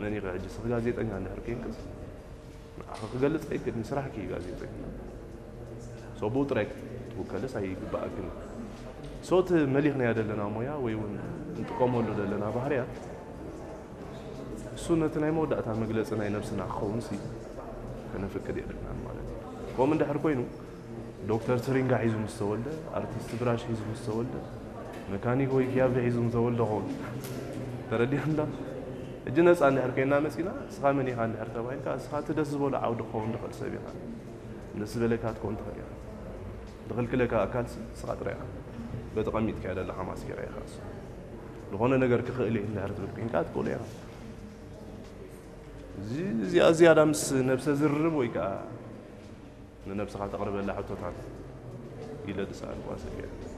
መን ኢኺ ሕጂ? ስኺ ጋዜጠኛ እንድሕር ኮይንክስ ንዓኺ ክገልጽ ኣይክእልን፣ ስራሕኪ እዩ ጋዜጠኛ። ሶ ብኡ ጥራይ ክትውከልስ ኣይግባኣክን። ሶ እቲ መሊኽናዮ ዘለና ሞያ ወይ እውን እንጥቀመሉ ዘለና ባህርያት እሱ ነቲ ናይ መወዳእታ መግለጺ ናይ ነብስና ክኸውን ሲ ከነፍቅድ የብልናን ማለት እዩ። ከምኡ እንድሕር ኮይኑ ዶክተር ትሪንጋ ሒዙ ምስ ተወልደ፣ ኣርቲስት ብራሽ ሒዙ ምስ ተወልደ፣ መካኒክ ወይ ኪያብሪ ሒዙ ምስ ተወልደ ኸውን ተረዲእና። ሕጂ ነፃ እንድሕር ኮይና መፂና፣ እስኻ መን ኢኻ እንድሕር ተባሂልካ፣ እስኻ እቲ ደስ ዝበሎ ዓውዲ ክኸውን ትኽእል ሰብ ኢኻ። ደስ ዝበለካ ክትከውን ትኽእል ኢኻ። ዝኽልክለካ ኣካልሲ እስኻ ጥራይ ኢኻ። በቲ ቀሚጥካዮ ዘለኻ ማስጌራ ኢኻ እሱ። ዝኾነ ነገር ክኽእል እየ እንድሕር ትብል ኮይንካ ትኽእሎ ኢኻ። እዚ እዚኣ ዝያዳ ምስ ነብሰ ዝርርብ ወይ ከዓ ንነብስኻ ተቕርበላ ሕቶታት ኢለ ዝሰኣልኩዋ ሰብ እያ።